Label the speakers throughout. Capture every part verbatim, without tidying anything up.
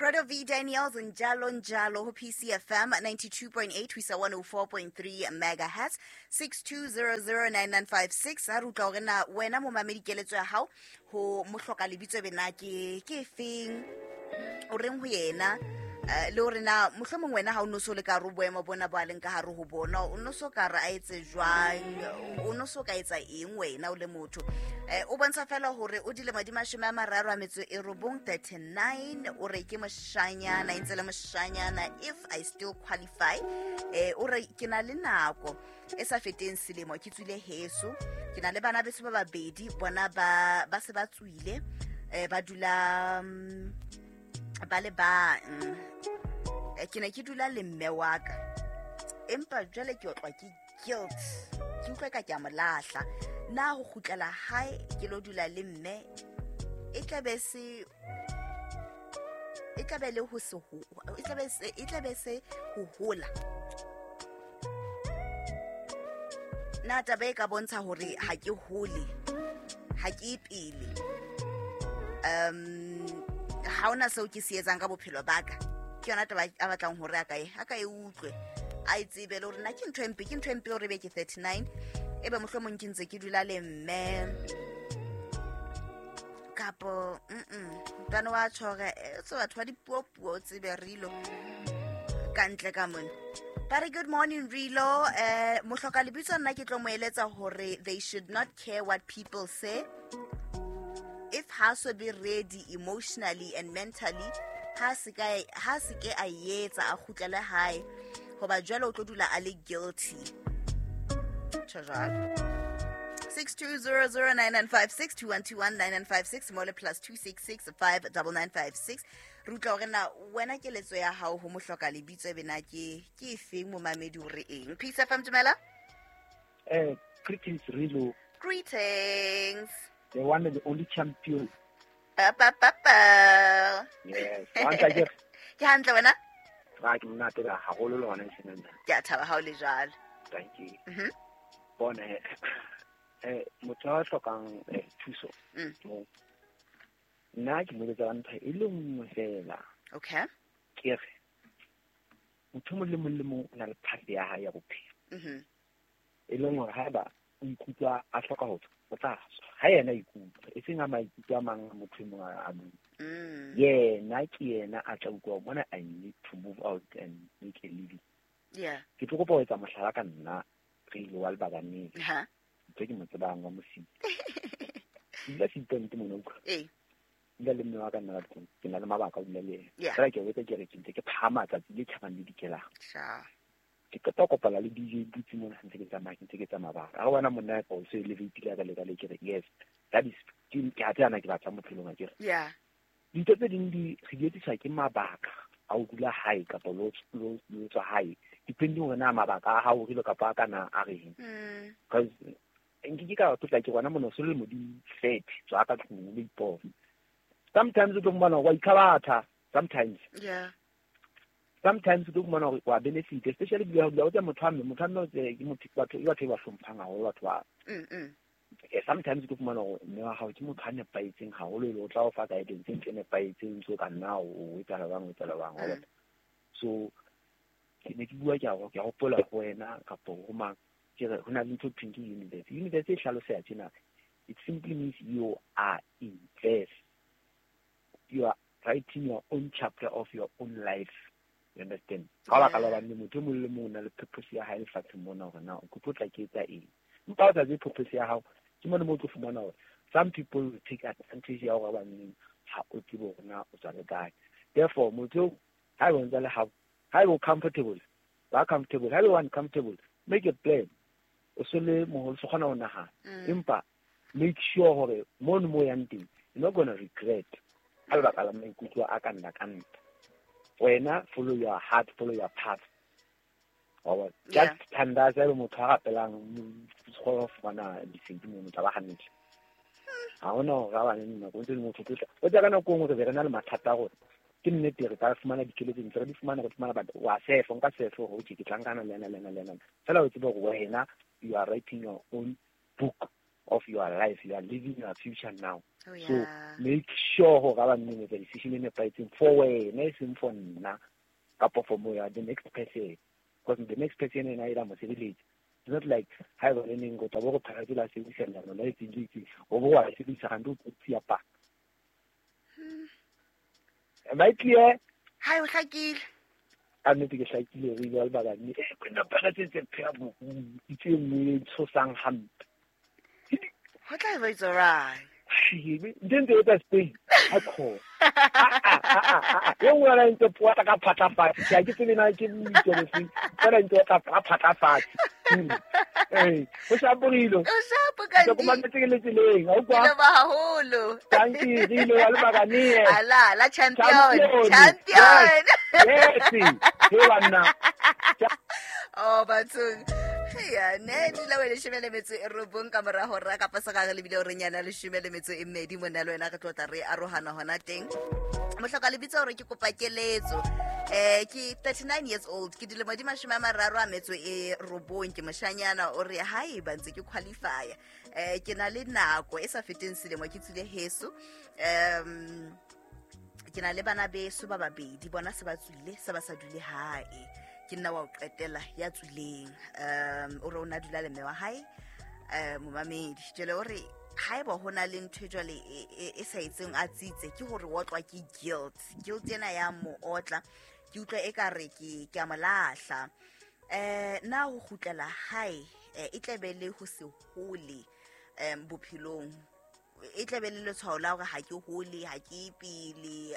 Speaker 1: Grado V Daniels njalo njalo ho P C F M ninety-two point eight ho isa one oh four point three megahertz six two zero zero nine nine five six. Ha re utlwa hore na wena momamedi keletso ya hao ho mohloka lebitso be na ke ke efeng, o reng ho yena, eh, le hore na mohlomong wena ha o no so le ka hare ho boemo bona bo a leng ka hare ho bona, o no so ka re a etse jwang, o no so ka etsa eng wena o le motho. Eh, o bontsha fela hore o dilemo di mashome a mararo a metso e robong, thirty-nine, o re ke moshanyana, e ntse le moshanyana, if I still qualify. Eh, o re ke na le nako e sa feteng selemo ke tswile heso, ke na le bana beso ba babedi, bona ba, ba se ba tswile, eh, ba dula, mm, ba le bang. Eh, ke ne ke dula le mme wa ka, empa jwale ke otlwa ke guilt, ke utlwa ka ke a mo lahla. Na ho kgutlela hae ke lo dula le mme e tla be se, e tla be le ho se ho, e tla be se, e tla be se ho hola. Na taba e ka bontsha hore ha ke hole, ha ke pele. Um, ha hona seo ke se etsang ka bophelo ba ka. Ke yona taba a batlang hore a ka e, a ka e utlwe, a e tsebe le hore na ke ntho e mpe, ke ntho e mpe hore ebe ke thirty-nine, ebe mohlomong ke ntse ke dula le mme. Kapo, mm-mm, ntwana wa tjho hore, eh, so batho ba dipuopuo o tsebe Rilo ka ntle ka mona. Ba re good morning Rilo, eh, mohloka lebitso nna ke tlo mo eletsa hore they should not care what people say. If ha so be ready emotionally and mentally, ha se ka, ha se ke a etsa a kgutlele hae, hoba jwale o tlo dula a le guilty. Tjho jwalo. six two zero zero nine nine five six, two one two one nine nine five six, mole plus two six six five double nine five six. Re utlwa hore na wena keletso ya hao ho mohloka lebitso e be na ke, ke efeng momamedi o re eng? Peace F M, dumela.
Speaker 2: Eh, greetings Rilo.
Speaker 1: Greetings.
Speaker 2: The one and the only champion.
Speaker 1: Pa, pa, pa, pa.
Speaker 2: Yes. Wa ntla ke re?
Speaker 1: Ke hantle wena?
Speaker 2: Ra ke monate ka haholo le hona e senang.
Speaker 1: Ke a thaba ha o le jwalo.
Speaker 2: Thank you.
Speaker 1: Mhm.
Speaker 2: Bona, eh, eh, motho a hlokang, eh, thuso.
Speaker 1: Mm.
Speaker 2: Mo. Nna ke mo eletsa ka ntho e le nngwe fela.
Speaker 1: Okay.
Speaker 2: Ke re, motho mong le mong le mong o na le path ya hae ya bophelo.
Speaker 1: Mhm.
Speaker 2: E leng hore haeba o ikutlwa a hloka ho tswa, o tla tswa. Ha yena a ikutlwa, e seng a maikutlo a mang a motho e mong a a bua.
Speaker 1: Mm.
Speaker 2: Yena ke yena a tla utlwa hore mona I need to move out and make a living.
Speaker 1: Yeah.
Speaker 2: Ke tlo kopa ho etsa mohlala ka nna, re ile wa Lebakaneng.
Speaker 1: Ha.
Speaker 2: Ntho e ke mo tsebang wa Mosidi. Ke dula Seapoint mona, utlwa.
Speaker 1: Ee.
Speaker 2: Ke dula le mme wa ka nna ka tlung. Ke na le mabaka a ho dula le yena.
Speaker 1: Yeah.
Speaker 2: Feela ke a botsa ke re ke ntse ke phahama tsatsi le tjhabang le dikelang.
Speaker 1: Sure.
Speaker 2: Ke qeta ho kopana le D J Boots mona, ha ntse ke tsamaya, ke ntse ke tsamaya mabaka. Ha re bona monna ya ka o so elevate-ile ka le ka le, ke re, yes, that is, ke, ke a tseba na ke batlang bophelong a ke re.
Speaker 1: Yeah.
Speaker 2: Dintho tse ding di re di etsiswa ke mabaka a ho dula hae kapa lo, lo, lo tswa hae, depending hore na mabaka a hao rile kapa a ka na a reng.
Speaker 1: Mm.
Speaker 2: Because nke ke ka tlotla ke bona mona o so le modimo thirty, tswa ka tlung o lo ipona. Sometimes o tlo fumana hore wa ikhabatha, sometimes.
Speaker 1: Yeah.
Speaker 2: Sometimes o tlo fumana hore wa benefit, especially dula dula o tsa motho wa mme, motho wa mme o tse ke motho, batho, ke batho ba hlomphang haholo batho ba.
Speaker 1: Mm, mm.
Speaker 2: Eh, sometimes o tlo fumana hore mme wa hao ke motho a nepahetseng haholo, e le o tla o fa guidance e ntle e nepahetseng, so ka nna o, o etsahala jwang, o etsahala jwang, wa
Speaker 1: Mm.
Speaker 2: bona. So, ke ne ke bua ke a ho-, ke a hopola ho wena kapo ho mang, ke re ho na le ntho e thweng ke universe. Universe e hlaloseha tjena, it simply means you are in verse. You are writing your own chapter of your own life. You understand? Ka baka la
Speaker 1: Yeah.
Speaker 2: hobane motho e mong le mong o na le purpose ya hae lefatsheng mona hore na o tlo tla ke etsa eng. Empa ha o sa tsebe purpose ya hao, ke mona moo o tlo fumana hore some people will take advantage ya hore hobaneng ha o tsebe hore na o tswa le kae. Therefore, motho eo, ha eba o ntse a le hao, ha eba o comfortable, ba comfortable, ha eba o uncomfortable, make a plan. O se le moholo, o se kgona ho nahana.
Speaker 1: Mm.
Speaker 2: Empa make sure hore mono mo yang teng, you're not gonna regret. Ka lebaka la maikutlo a ka nna ka nna. Wena, follow your heart, follow your path. Wa bona?
Speaker 1: Yeah.
Speaker 2: Just thandaza ebe motho a rapelang, mm, o kgone ho fumana lesedi mono, o tla ba hantle. Ha hona hore a bane nako, o ntse le motho o tla. O tseba ka nako e nngwe re be re na le mathata a rona. Ke nnete re ka fumana dikeletso ntse re di fumana, re fumana, but wa sefa, nka sefa hore okay, ke tla nkana le ena, le ena, le ena. Feela o tsebe hore wena, you are writing your own book of your life. You are living your future now.
Speaker 1: Oh, yeah.
Speaker 2: So make sure hore ba nne le decision e nepahetseng for wena, e seng for nna kapa for moya the next person, because the next person ena e la mo sebeletsa. It's not like ha ba le neng go tla bo go phela la sebedisa leano la itseng le itseng, o bo wa sebedisa gante o tsia pa. Am I clear?
Speaker 1: Hi, o hlakile.
Speaker 2: A nnete ke hlakile re ile ba ba ne e kwena Pirates tse phela bo itse nngwe e tshosang hampe.
Speaker 1: Ho tla ba it's alright.
Speaker 2: Ntse e tsa Spain a kho. E nngwe la ntse poa ka phatlafatse. Ke a ke tsebe na ke bitso bofeng. Fela ntse ka phatlafatse. Eh, o shaporile.
Speaker 1: O shapo ka
Speaker 2: ndi. Ke mametse ke le tseleng, ha o kwa.
Speaker 1: Ke ba haholo.
Speaker 2: Thank you, re ile wa le bakane.
Speaker 1: Ala, la champion. Champion.
Speaker 2: Yes. He banna.
Speaker 1: Oh, bathong. Ya ne dula we leshome le metso e robong ka mora hora kapa segage le bile o re nyana leshome le metso e mmedi mona le wena re tlotla re arohana hona teng. Mohloka lebitso hore ke kopa keletso. Eh ke thirty-nine years old, ke dilemo di mashome a mararo a metso e robong, ke moshanyana o re haeba ntse ke qualify. Eh ke na le nako e sa feteng selemo ke tswile heso. Um ke na le bana beso ba babedi, bona se ba tswile se ba sa dule hae. Ke nna wa o qetela ya tswileng. Um o re o na dula le mme wa hae, eh momamedi. Jwale o re haeba ho na le ntho jwale e sa etseng a tsitse ke hore o otlwa ke guilt. Guilt ena ya mo otla, ke utlwa e ka re ke ke a mo lahla. Eh na ho kgutlela hae e tlebe le ho se hole um bophelong, e tlebe le letshwao la hore ha ke hole, ha ke pele,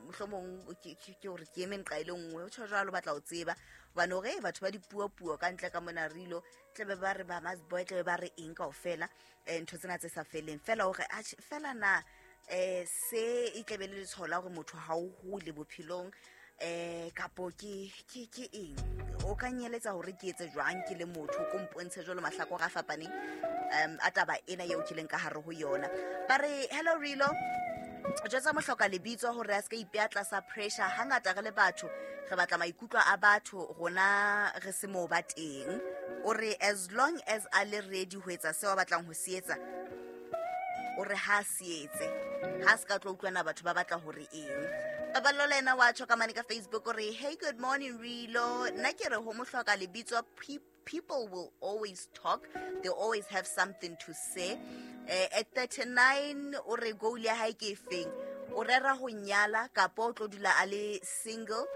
Speaker 1: mohlomong ke ke hore ke eme nqa ile nngwe. O tjho jwalo batla ho tseba hobane hore batho ba dipuo puo ka ntle ka mona rilo tlebe ba re ba mas boy tlebe ba re eng kaofela ntho tsena tse sa feleng fela hore fela na eh se e tlebe le letshwao la hore motho ha o hole bophelong eh kapo ke ke ke eng. O ka nyeletsa hore ke etse jwang ke le motho ko mpontshe jwalo mahlakore a fapaneng um a taba ena eo ke leng ka hare ho yona. Ba re hello Rilo, jwetsa mohloka lebitso hore a se ka ipea tlasa pressure. Hangata re le batho re batla maikutlo a batho, rona re se mo ba teng. O re as long as a le ready ho etsa seo a batlang ho se etsa, o re ha se etse, ha se ka tlo utlwana batho ba batla hore eng. Paballo le ena wa tjho ka mane ka Facebook o re hey good morning Rilo, nna ke re ho mohloka lebitso people will always talk, they always have something to say. Eh, at thirty-nine o re goal ya hae ke efeng, o rera ho nyala kapa o tlo dula a le single,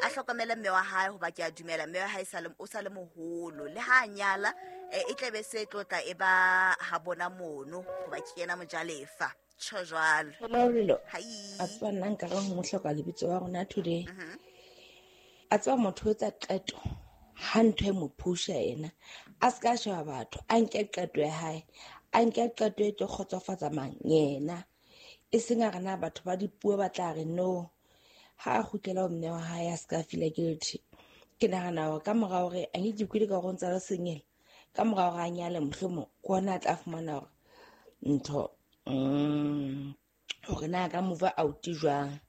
Speaker 1: a hlokomele mme wa hae hoba ke a dumela mme wa hae sa le o sa le moholo, le ha a nyala e tlebe se tlotla e ba ha bona mono hoba ke yena mojalefa. Tjho jwalo.
Speaker 3: Hello Rilo.
Speaker 1: Hi.
Speaker 3: A tswa nna nka re ho mohloka lebitso wa rona today. A tswa motho o etsa qeto ha ntho e mo pusha yena, a ska sheba batho, a nke qeto ya hae, a nke qeto e tlo kgotsofatsa mang yena, e seng a re na batho ba dipuo ba tla re no. Ha a kgutlela ho mme wa hae a ska feel guilty. Ke nahana hore ka mora hore a nke ke ka hore o ntsa le sengela, ka mora hore a nyale mohlomong ke ona a tla fumana hore ntho mm hore na ka move out jwang,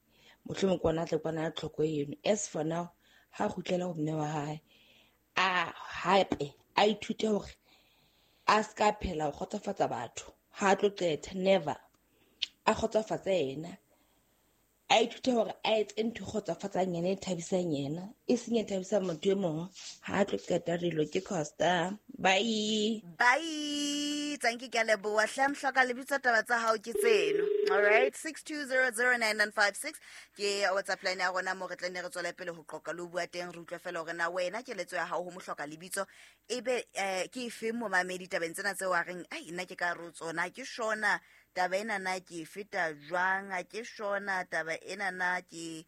Speaker 3: mohlomong ke ona a tla kwana tlhoko eno. As for now, ha kgutlela ho mme wa hae a hape a ithute hore a ska phela ho kgotsofatsa batho, ha tlo qeta never a kgotsofatse yena, a ithute hore a etse ntho kgotsofatsang yena e thabisang yena, e seng e thabisang motho e mong. Ha tlo qeta Rilo ke Costa. Bye
Speaker 1: bye. Thank you ke a leboha hle mohloka lebitso taba tsa hao ke tseno. All right, six two zero zero nine nine five six ke WhatsApp line ya rona mo re tla ne re tswela pele ho qoqa le ho bua teng, re utlwe fela hore na wena keletso ya hao ho mohloka lebitso ebe eh, ke efe momamedi tabeng tsena tseo a reng ai nna ke ka re tsona ke shona taba ena na ke feta jwang, a ke shona taba ena na ke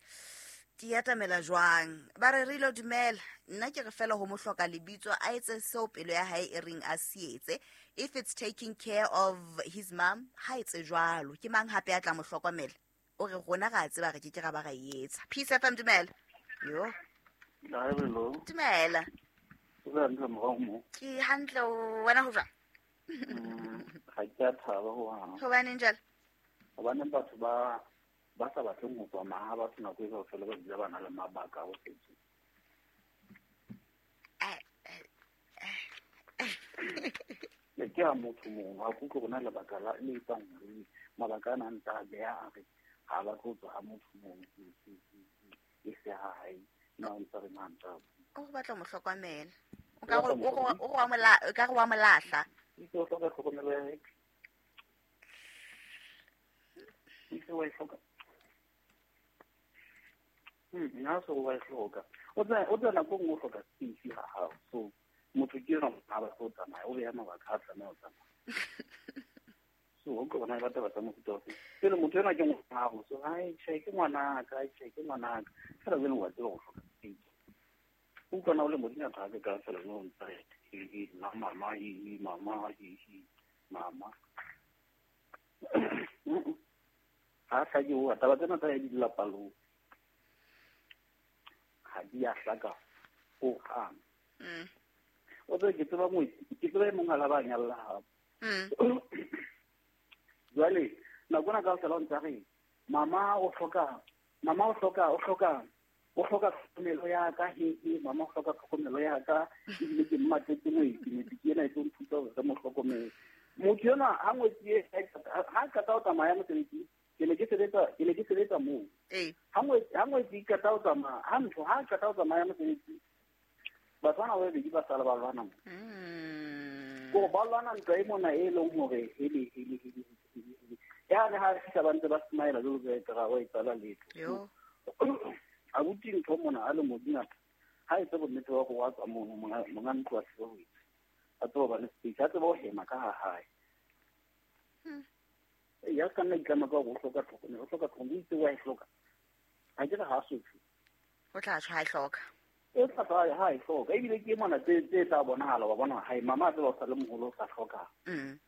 Speaker 1: ke atamela jwang. Ba re Rilo dumela, nna ke re fela ho mohloka lebitso a etse seo pelo ya hae e reng a se etse. If it's taking care of his mom, ha etse jwalo, ke mang hape a tla mo hlokomela? O re rona ra tseba re ke ke ra ba ra etsa. Peace F M dumela. Yo. Dumela. Ke hantle wena ho jwang?
Speaker 4: Ga ke a thaba hohang.
Speaker 1: Hobaneng jwale?
Speaker 4: Hobaneng batho ba ba sa batleng ho tswa maha batho nako e kaofela ba dula ba na le mabaka a ho setse. Le ke a motho mongwe ga kutlwe gona lebaka la le etsang hore mabaka a nang tsa beha a re ha ba tlo tswa ha motho mongwe e se ha hae na o ntse re na ntse
Speaker 1: o go batla mo hlokomela o ka go o go wa o ka go wa molahla
Speaker 4: itse o hloka tlhokomelo ya hae itse wa e hloka nna so wa e hloka o tla o tla nako nngwe o hloka space ha hao so motho ke yona ha ba tlo tsamaya o beha mabaka a tsamaya o tsamaya so o ka bona ba taba tsa mofuta ofe pele motho ena ke ngwana so ai tjhe ke ngwanaka ai tjhe ke ngwanaka fela jwale wa tseba go hloka space o utlwana o le modimo a ka ka fela no ntse e na mama e mama e mama ha sa ke o taba tsena tsa di lelapa lo ha di a hlaka ho hang o tse ke tseba mo ke tseba e mong a la ba nyalla ha jwale nako na ka fela o ntse re mama o hloka mama o hloka o hloka o hloka tlhokomelo ya ka he he mama o hloka tlhokomelo ya ka ebile ke mmatletse ngwetsi ngwetsi ke ena e tlo nthusa hore re mo hlokomele motho enwa ha ngwetsi e ha qeta ho tsamaya mosebetsing ke ne ke sebetsa ke ne ke sebetsa moo ha ngwetsi ha ngwetsi e qeta ho tsamaya ha ntho ha qeta ho tsamaya mosebetsing batho bana ba babedi ba sala ba lwana mo ko ba lwana ntwa e mona e leng hore hele hele hele ya re ha fihla ba ntse ba smile jalo ka ekare wa etsala letho abuti ntho mona a le modingata ha etse bonnete ba go wa tswa mono monga ntlo a tsebe ho itse a tsebe ba le space a tsebe ho hema ka ha hae ya ka nna itlama ka go hloka tlhokomelo o hloka tlhokomelo itse wa e hloka ha ke re ha sotho
Speaker 1: o tla tshwa e hloka
Speaker 4: e tla tshwa ha e hloka ebile ke mona tse tse tla bonahala wa bona hae mama a tseba o sa le moholo o sa hloka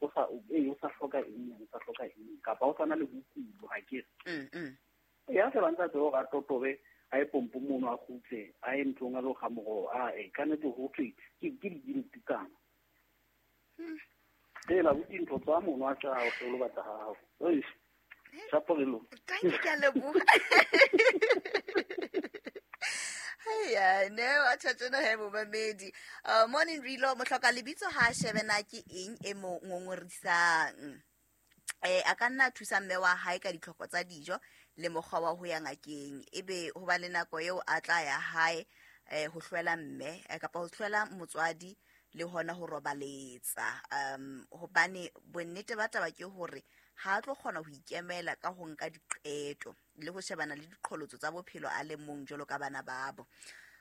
Speaker 4: o sa e o sa hloka eng o sa hloka eng kapa o sa na le bokulo ha ke re ya se ba ntse tsebe hore a totobe a e pompo mono a kgutle a ye ntlong a lo kga moroho a e ka nnete ho thwe ke ke di-guilty-kana fela abuti ntho tswa mono a tla o hlolo batla ha hao eish shapo re lo
Speaker 1: thank you ke a leboha Hey, no, a tjhatjena he momamedi. Uh, morning Rilo, mohloka lebitso ha shebe na ke eng e mo ngongorisang. Eh a ka nna thusa mme wa hae ka ditlhoko tsa dijo le mokgwa wa ho ya ngakeng. Ebe ho ba le nako eo a tla ya hae eh ho hlwela mme kapa ho hlwela motswadi le hona ho robaletsa. Um hobane bonnete ba taba ke hore ha tlo kgona ho ikemela ka ho nka diqeto le ho shebana le diqholotso tsa bophelo a le mong jwalo ka bana babo.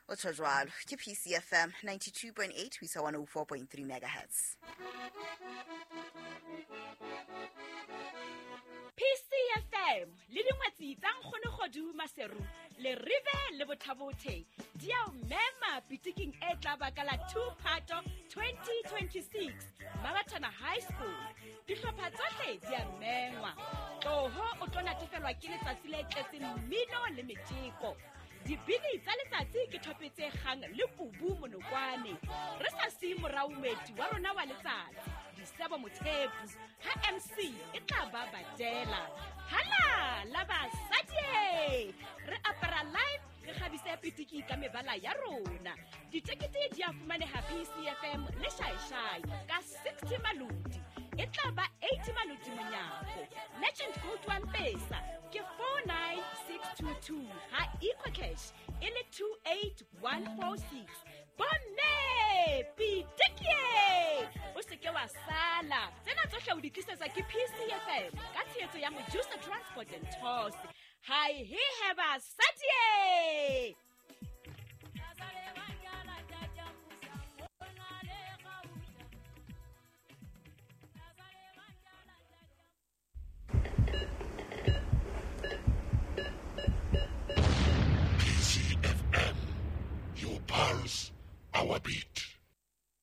Speaker 1: O tjho jwalo ke P C F M ninety-two point eight ho isa one oh four point three megahertz.
Speaker 5: P C F M le dingwetsi tsa nkgono Kgodu Maseru le Rive le Bothabothe di a o mema pitiking e tla ba ka la two Phato twenty twenty-six Mabatana High School. Dihlopha tsohle di a mengwa. Tloho o tlo natefelwa ke letsatsi le tletseng mmino le metjeko. Dibini tsa letsatsi ke thopetse kgang le kubu monokwane. Re sa siye morao moeti wa rona wa letsatsi Disebo Mothepu ha M C e tla ba badela. Hala la basadi re apara live re kgabise pitiki ka mebala ya rona. Ditekete di a fumaneha P C F M le Shaishai ka sixty maloti. E tla ba eighty maloti monyako. Legend code wa Mpesa ke four nine six two two ha EcoCash e le two eight one four six. Bomme pitiki o se ke wa sala. Tsena tsohle o di tlisetsa ke P C F M ka tshehetso ya Mojusa Transport and Tours. Hi he heba sadie.
Speaker 6: P C F M, your pulse, our beat.